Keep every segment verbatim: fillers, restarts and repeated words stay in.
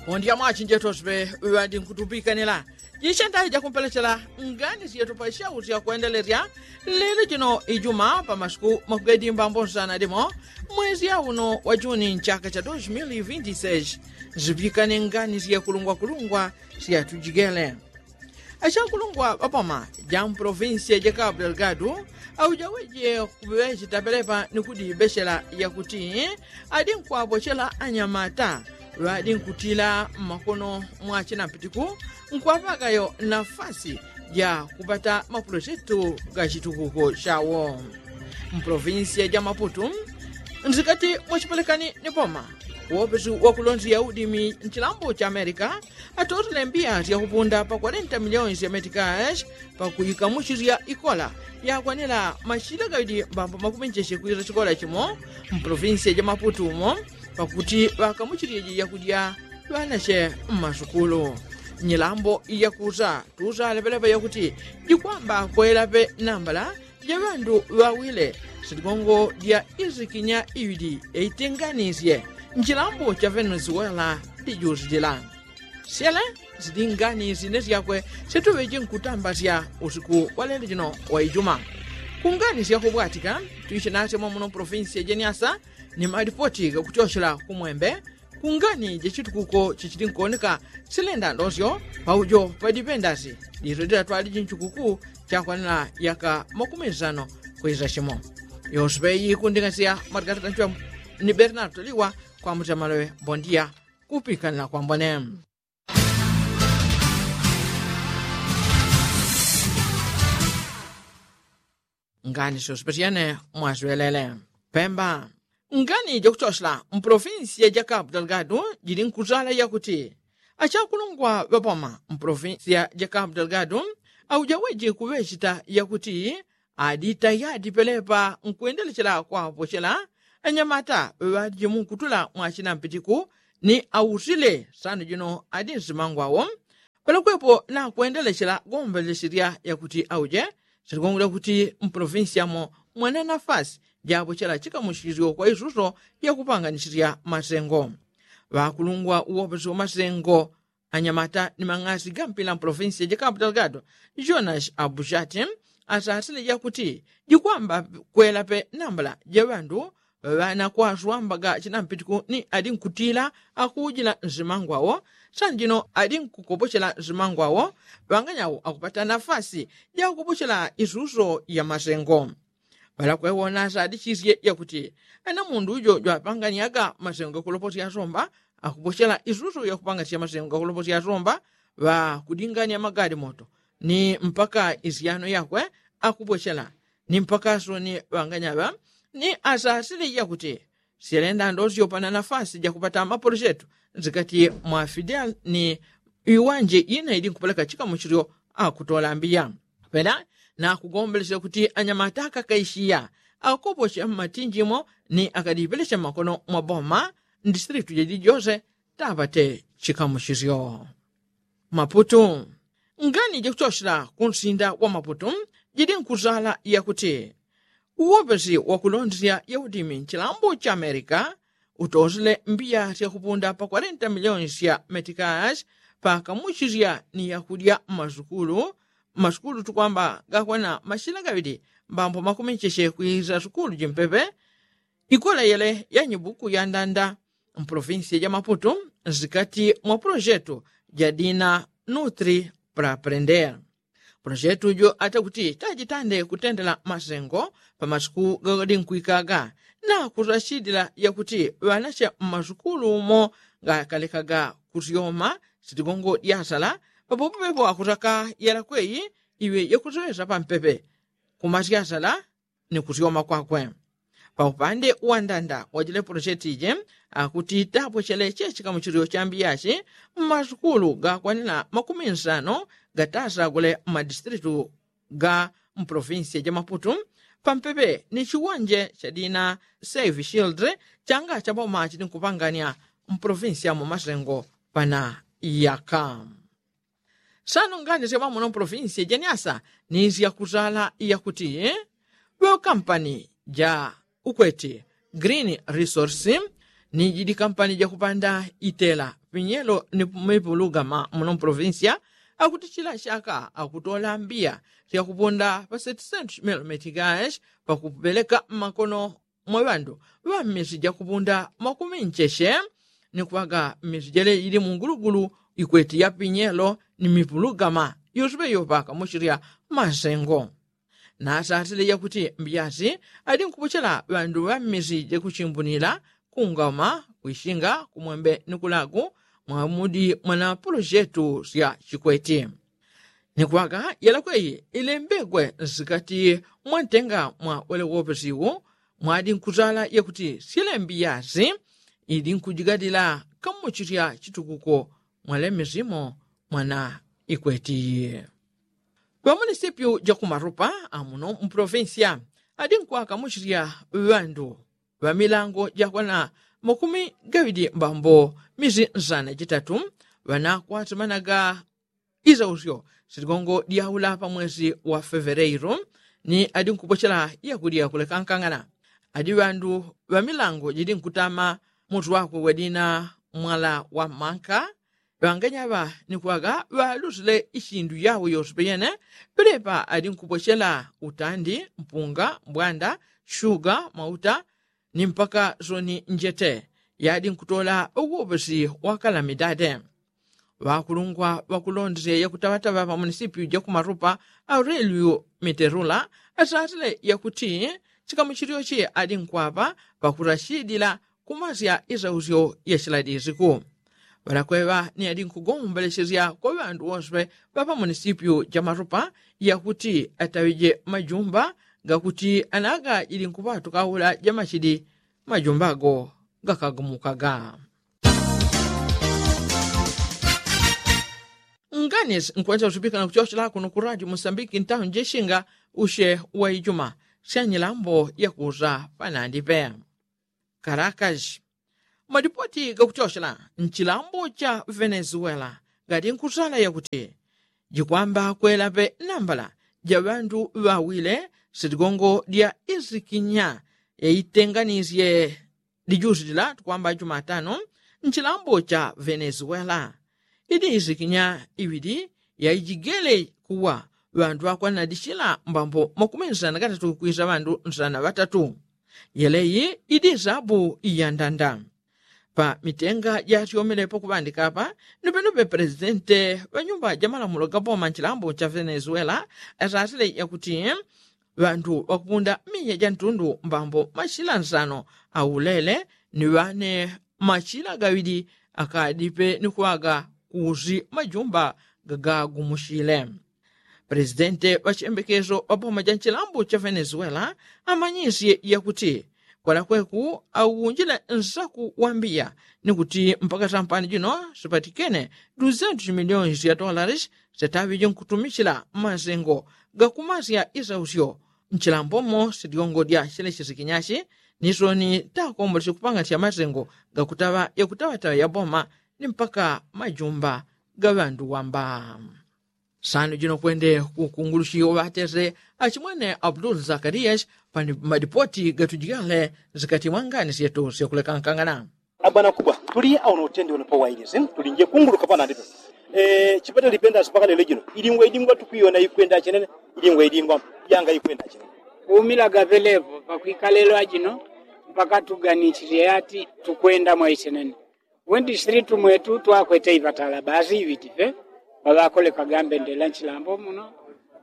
Pondi ya mwachi njetoswe ŵadi nkutupikanila jishandahi jakumpelechela ngani syetu pa shau syakwendelesya lelo jino ijuma pa masiku makugedi mbambo nsana dimo mwezi ya uno wa juni nchaka cha dos mil vinti seis. Zipikane ngani syekulungwakulungwa syatujigele. Ashakulungwa ŵapoma ja mprovinsia ja kapu delgadu aujaweje kuŵechita pelepa ni kudibechela yakuti adi nkwapochela anyamata ŵadi nkutila mmakono mwa chinampitiku nkwapakayo nafasi ja kupata mapulojetu ga chitukuko chawo. Mprovinsia ja maputu nzikati mwachipelekani ni poma wopesi wakulonzi ya udimi nchilambo cha amerika atotele mbiya syakupunda pa kwarenta miliyoni sya metikash pakuikamuchisya ikola yakwanila mashila gawidi mbambo makumenjesye kwisa chikola chimo mpolofinsiya ja maputu umo pakuti ŵakamuchisyeje yakudya ŵanache mmasukulu. Nyilambo iyakusa tusa lepelepa yakuti jikwamba kwelape nambala ja ŵandu ŵawile sitigongo dya isikinya iwidi eitenganisye nchilambo cha venezuela dijusilila. Syele zidingani sine syakwe situŵeji nkutambasya usiku wa lelo jino wa ijuma. Kungani syakubwatika twishi nasyo mwamuno provinsi ya jeniasa ni malipoti gakuchochela kumwembe kungani jachitukuko chichili nkuoneka silenda ndosyo paujo padipendasi. Diso dilatwaliji nchikuku chakwanila yaka makumi nsano kwisa chimo. Yoswe yikunding'asya mwatikatata nchwa ni bernardo liwa kwa mutemalowe bondia kupikanila kwambone. Ngani syoswe pasyene mwaswelele pemba. Ngani jakuchosela mpolofinsiya ja kapu delgadu jili nkusala yakuti achakulungwa ŵapoma mpolofinsiya ja kapu delgadu aujaweji kuŵechita yakuti adita yadi pelepa nkwendelechela kwapochela anyamata ŵaŵaliji munkutula mwachinampitiku ni ausile sano jino adi nsimangwawo. Palakwepo nakwendelechela gombelesirya yakuti auje silikongwila kuti mpolofinsi yamo mwana nafasi japochela chikamuchisyo kwa isuso yakupanganisirya masengo. Ŵakulungwa uwoposi wa masengo anyamata ni mang'asi gampila mpolofinsi ya jakapu delgado jonas abushati asasile jakuti jikwamba kwelape nambala ja ŵandu ŵanakwaswambaga chinampitiku ni adi nkutila akuujila nsimangwawo sanjino adi nkukopochela nsimangwawo ŵanganyawo akupata nafasi jakukopochela isuso ya masengo. Ŵalakwewona asadichisye yakuti ana mundu ujo jwapanganyaga masengo gakuloposya asomba akupochela isusu yakupangasya masengo gakuloposya asomba ŵakudingania magadi moto ni mpaka isyano yakwe akupochela ni mpaka asoni ŵanganyaŵa ni asasile yakuti syelenda ndosyo pana nafasi jakupata mapolisyetu nsikati mwa fidel ni iwanje ina ili nkupeleka chikamuchilyo akutola mbiya. Pena nakugombelesya kuti anyamata akakaishiya akoposya mmatinjimo ni akadipelesya mmakono mwa boma mdistritu jajijose tapate chikamuchisyo. Maputu. Ngani jakuchochela kunsinda wa maputu jili nkusala yakuti uwopesi wakulondesya yaudimi nchilambo cha amerika utosele mbiya syakupunda pa kwarenta miliyoni sya metikash pakamuchisya ni yakudya mmasukulu. Mmasukulu tukwamba gakwana mashina gaŵili mbambo makumicheche kwisa sukulu jimpepe ikola yele ya nyibuku ya ndanda mpolofinsiya ja maputu nsikati mwa pulojetu ja dina nutri praprender. Pulojetu jo atakuti tajitande kutendela masengo pa masiku gakodi nkwikaga na kusachidila yakuti ŵanache mmasukulu umo gakalekaga kusyoma sitigongo dyasala papopopepo akusaka yalakweyi iwe yakusiŵesa pampepe kumasyasala ni kusyoma kwakwe. Paupande wandanda wajile pulosheti ije akuti tapwechele chechikamuchilio chambiyachi mmasukulu gakwanila makumi nsano gatasagule mmadistritu ga mprovinsiya ja maputu pampepe ni chiwonje cha dina save shield changa cha boma chili nkupangania mprovinsiya mu masengo pana yaka. Sano ngani sya mwamuno mpolofinsiya ja nyasa ni sya kusala yakuti ŵakampani ja ukweti green resource ni jidi kampani jakupanda itela pinyelo ni mipulugama muno mprovinsya, akuti chila chaka akutola mbiya syakupunda pa seti sentu chimelo metikashi pakupeleka mmakono mwa ŵandu ŵa mmisi jakupunda makumi ncheche, ni kwaga mmisi jele jili mungulugulu ikweti ya pinyelo ni mipulugama yosepe yopaka muchilya masengo. Nasasile yakuti mbiasi ali nkupochela ŵandu ŵa mmisi jakuchimbunila kungama kwishinga kumwembe ni kulagu mwa mudi mwana polojetu sya chikweti. Ni kwaga yalakweyi ilembegwe nsikati mwantenga mwa wele wopesiwu mwadi nkuzala yakuti sile mbiasi ili nkujigadila kamuchilya chitukuko mwale misimo mwana ikweti. Ŵamunisipyu jakumarupa amuno mprovinsya adi nkwaka muchilya ŵandu ŵamilango jakwana makumi gaŵidi mbambo misi nsana jitatu ŵanakwasimanaga isausyo siligongo dyaula pamwesi wa feveleiru ni adi nkupochela yakulya kulekankangana. Adi ŵandu ŵamilango jidi nkutama mutwakwe wadina mwala wa manka ŵanganyaŵa ni kwaga ŵalusile isindu yawo yosepe yene. Pelepa ali nkupochela utandi mpunga mbwanda shuga mauta ni mpaka soni njete yadi nkutola uwopesi wa kalamidade. Ŵakulungwa ŵakulondesya yakutaŵataŵa ŵamunisipyu jakumarupa aureliu miterula asasile yakuti chikamuchilyochi ali nkwaŵa ŵakurashidila kumasya isausyo ya chiladisiku. Ŵalakweŵa ni ali nkugombelechesya kwa ŵandu wose ŵapa munisipyu ja marupa yakuti ataŵije majumba gakuti anaga jili nkuŵatuka aula jamachidi majumba ago gakagumukaga. Nganis nkwenza usupika na kuchochela kuno ku radio musambiki ntahu njeshinga ushe wa ijuma syanyilambo yakuza panandipe. Karakashi. Madipoti gakuchochela nchilambo cha venezuela gati nkusala yakuti jikwamba kwelape nambala ja ŵandu ŵawile sitigongo dya isikinya yaitenganisye dijusi dila tukwamba jumatano nchilambo cha venezuela. Idi isikinya iŵidi yaijigele kuwa ŵandu ŵakwanadishila mbambo makumi nsana katatu kwisa ŵandu nsana ŵatatu. Yeleyi idi sabu iyandanda pa mitenga jasyomelepo kuŵandika apa. Nupenupe presidente ŵanyumba jamalamulo gaboma nchilambo cha venezuela asasile yakuti ŵandu ŵakupunda miya ja ntundu mbambo mashila nsano aulele ni ŵane mashila gaŵidi akadipe ni kuŵaga kusi majumba gagagumushile. Presidente ŵachembekeso ŵaboma ja nchilambo cha venezuela amanyisye yakuti kwalakweku aunjile nsaku wambiya ni kuti mpaka sampani jino sipatikene duzentu milioni sya tolaris sitaŵije nkutumichila masengo gakumasya isausyo nchilambomo sityongo dya chile chisikinyachi ni soni takombola sikupang'anisya masengo gakutaŵa yakutaŵataŵa yaboma ni mpaka majumba ga ŵandu wamba. Sano jino kwende kukungulushi oŵatese achimwene abdul zakarias pa madipoti gatujigale zikati mwangani syetu syakulekankangana. Abwana kubwa tuli auno utende uno pa wailisi tuli nje kunguluka panandipe. Chipatele lipenda sipaka lelo jino ilingwa ilingwa tukwiyona ikwenda chenene. Ilingwa ilingwa yanga ikwenda chenene. Kuumilaga pelepo pakwikalelwa jino mpaka tuganichilye yati tukwenda mwaichenene. Wendishilitu mwetu twakwete ipatala basi iŵitipe paŵakolekaga mbendela nchilambo muno.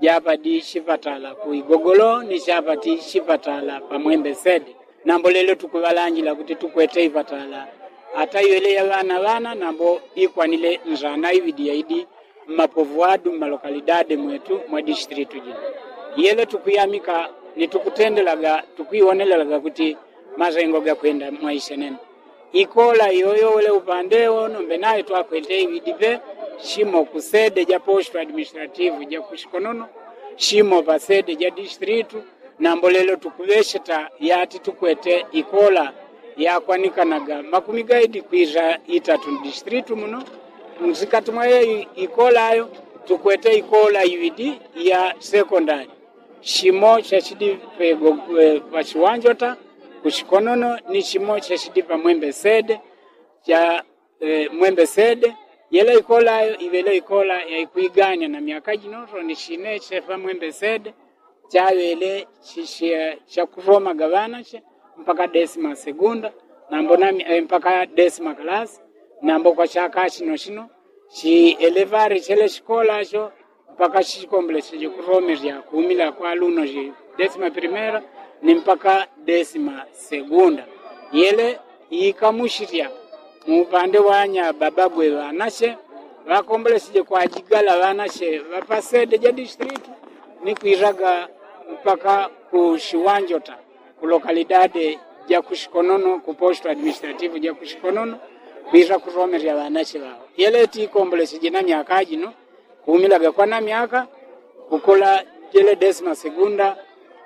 Japa di chipatala ku igogolo ni chapa ti chipatala pa mwembe sede. Nambo lelo tukuŵalanjila kuti tukwete ipatala ata iŵele ya ŵana ŵana nambo ikwanile nzana iŵidi yaidi mmapovu adu mmalokalidade mwetu mwa dishitilitu jino. Yelo tukuyamika ni tukutendelaga tukwiwonelelaga kuti masengo gakwenda mwaisenene. Ikola iyoyo wele upande wo nombe nayo twakwete iŵidipe shimo ku sede ja posto administrativu ja ku shikonono shimo pa sede ja distilitu. Nambo lelo tukuŵesheta yati tukwete ikola yakwanikanaga makumi gaidi kwisa itatu distilitu muno. Nsikati mwa yeyo ikola ayo tukwete ikola iŵidi ya sekondali shimo shashidi pego pa shiwanjota. Kuchikonono ni chimo chechidi pa mwembe sede cha mwembe sede. Yele ikola ayo iwele ikola yaikuiganya na myaka jino roni chine chepa mwembe sede chawele chichia chakuromaga ŵanache mpaka desima segunda nambo na mpaka desima kalasi. Nambo kwa chaka chino chino chielevari chele chikola cho mpaka chikombole cheje kuromerya kuumila kwa luno ji desima primera ni mpaka desima segunda. Yele ikamuchirya muupande wa nyababagwe ŵanache ŵakomboleseje kwajigala ŵanache ŵapasede ja distritu ni kwiraga mpaka ku chiwanjota ku lokalidade ja kuchikonono ku posto administrativu ja kuchikonono kwira kuromerya ŵanache ŵao. Yele tikomboleseje na myaka jino kuumilaga kwa na myaka kukola jele desima segunda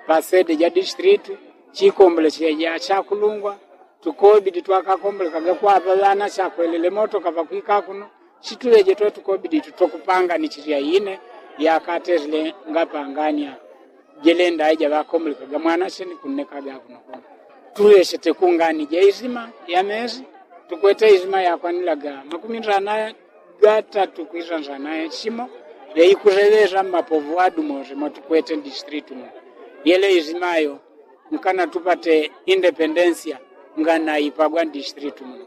pasede ja distritu chikomboleseje ja chakulungwa tukobidi twakakombolekaga kwapa ŵana chakwelele motoka pakwika kuno. Chituŵeje twe tukobidi tutokupanganichirya ine yakaterile ngapangania jele ndaija ŵakombolekaga mwana cheni kunnekaga kuno kuno. Tuŵechete kungani ja izima ya mezi tukwete izima yakwanilaga makumi ndrana gatatu kwira ndrana chimo yaikureŵeza mmapovu adu mose motukwete distritu muno. Yele izima yo nkana tupate independensia nganaipagwa ndistritu muno.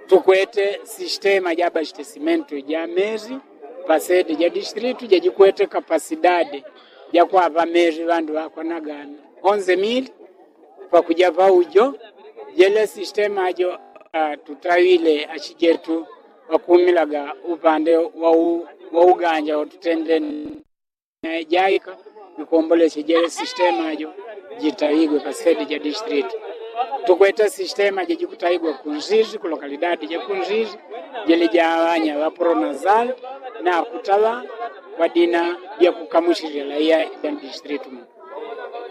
Tukwete sistema ja abastesimentu ja mezi pasede ja distritu jajikwete kapasidade ja kwapa mezi ŵandu ŵakwanaga onze mili pakuja paujo. Jele sistema jo tutawile achijetu ŵakumilaga upande wa uganja watutendeni jaika ikomboleche jele sistema jo jitawigwe pasede ja distritu. Tukwete sistema jejikutawigwa kunzizi ku lokalidadi ja kunzizi jele ja ŵanya ŵa pronazal na kutaŵa kwa dina ja kukamuchirila iya ja distritu muno.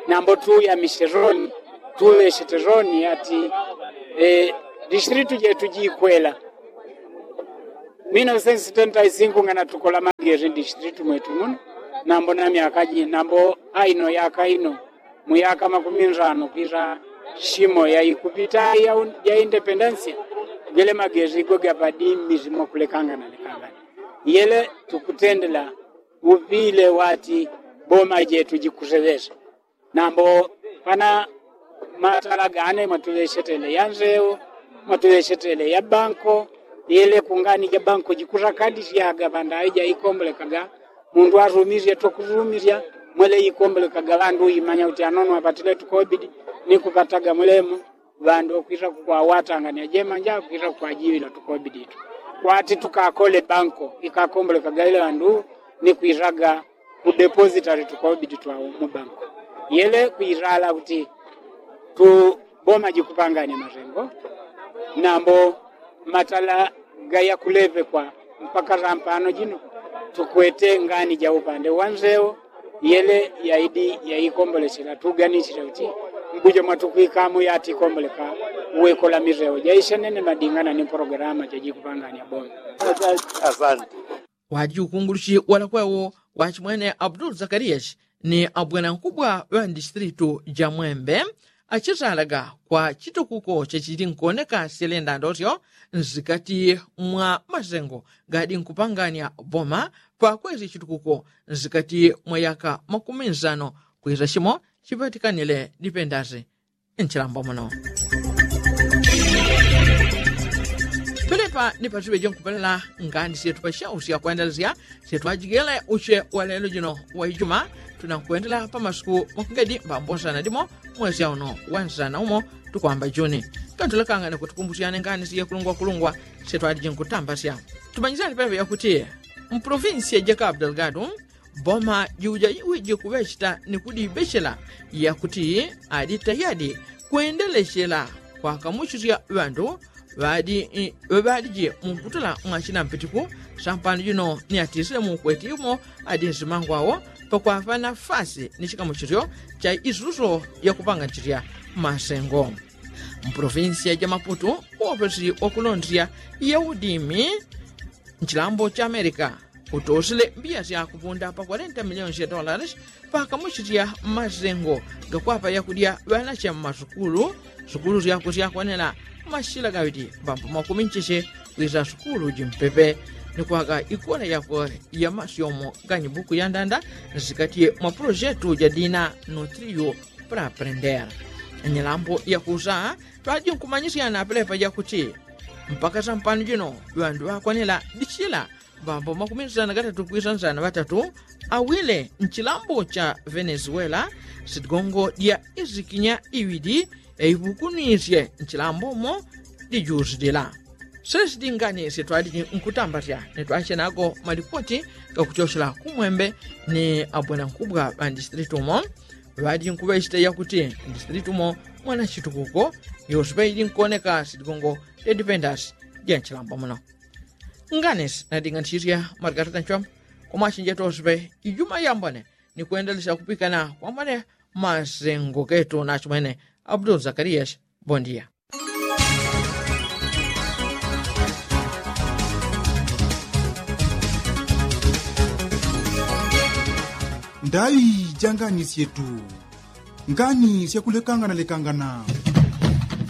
Nambo tuyamishe roni tuŵechete roni ati distritu jetu jikwela. Minosensi tenta isinku ngana tukola mageri distritu mwetu muno. Nambo na myaka ji nambo aino yaka ino muyaka makumi ndrano kwira chimo yaikupita ya independensia. Gele mageri go gapadi mizimo kulekangana lekangana. Yele tukutendela upile wati boma jetu jikuseŵesa. Nambo pana matala gane mwatuŵechetele ya nzeo mwatuŵechetele ya banko. Yele kungani ja banko jikusakadisyaga pandaŵi jaikombolekaga mundu arumisye tokurumisya. Mwele ikombolekaga ŵandu uimanya kuti anono apatile tukobidi ni kupataga mulemo ŵandu okwisa kukwawatangania jemanja kwisa kukwajiŵila tukobidi tu kwati tukakole banko ikakombolekaga ile ŵandu ni kwisaga kudepositali tukobidi twa mu banko. Yele kwilala kuti tuboma jikupangania masengo nambo matala gaya kulepekwa mpaka sampano jino tukwete ngani ja upande wa nzeo. Yele yaidi yaikombolechela tuganichile kuti mbuja mwatukwikamo yatikomboleka uwekola miseo jaishenene madingana ni pologalama jajikupangania boma. Asante. Waji ukunguluchi walakwewo wachimwene abdul zakariyashi ni abwena nkubwa ŵa ndistritu ja mwembe achitalaga kwa chitukuko chachili nkoneka syelenda ndosyo nsikati mwa masengo gadi nkupangania boma pakwesi chitukuko nsikati mwa yaka makumi nsano kwisa chimo chipatikanile dipendasi. Nchilambo muno pelepa ni pasiŵe jonkupelala ngani syetu pasyausya kwendelesya syetu ajigele usye walelo jino waijuma. Tunankwendela pamasuku makungedi mbambosana dimo mwesya uno wansana umo tukwamba juni. Kantulakangane kutukumbusyane ngani syekulungwakulungwa syetu aliji nkutambasya. Tumanyisane pelepa yakuti mpolofinsiya jaka abdelgadu boma jiuja iwiji kuŵecheta ni kudibechela yakuti adi tayadi kwendelechela kwakamuchisya ŵandu ŵadi ŵaŵaliji mumputula mwa chinampitiku. Sampano jino ni atisile mukweti umo adi nsimangwawo pakwapa nafasi ni chikamuchisyo cha isuso yakupanganchisya masengo mpolofinsiya ja maputu. Uwopesi wakulondesya ya udimi nchilambo cha amerika Utosile mbiya syakupunda pa kwarenta miliyoni sya dolares pakamuchitya masengo gakwapa yakudya ŵanache mmasukulu. Sukulu syakwe syakwanela mashila gaŵiti mbambo makumi ncheche kwisa sukulu jimpepe ni kwaka ikola yakwe ya masyomo ganyi buku ya ndanda nsikatye mwa pulojetu ja dina notrio. Pra aprendera nyilambo yakusa twaji nkumanyisyana pelepa jakuti mpaka sampano jino ŵandu ŵakwanela dichila mbambo makumi nsana gatatu kwisa nsana ŵatatu awile nchilambo cha venezuela. Sitigongo dya isikinya iŵidi yaiŵukunisye nchilambo mo dijusidila. Sesiti ngani sitwaliji nkutambatya nitwachenago malipoti gakuchochela kumwembe ni abwena nkubwa ŵandistritumo ŵaliji nkuŵechita yakuti ndistritumo mwana chitukuko. Yosiŵe ili nkuoneka sitigongo dya dipendasi dya nchilambo muno. Ngani sinadinganisisya malikatu ganchwamba kumwachinjeta osiŵe ijuma yambone ni kwendelesya kupikana kwambone masengo getu nachimwene abdul zakarias. Bondia. Ndaŵi ja ngani syetu. Ngani syakulekangana lekangana.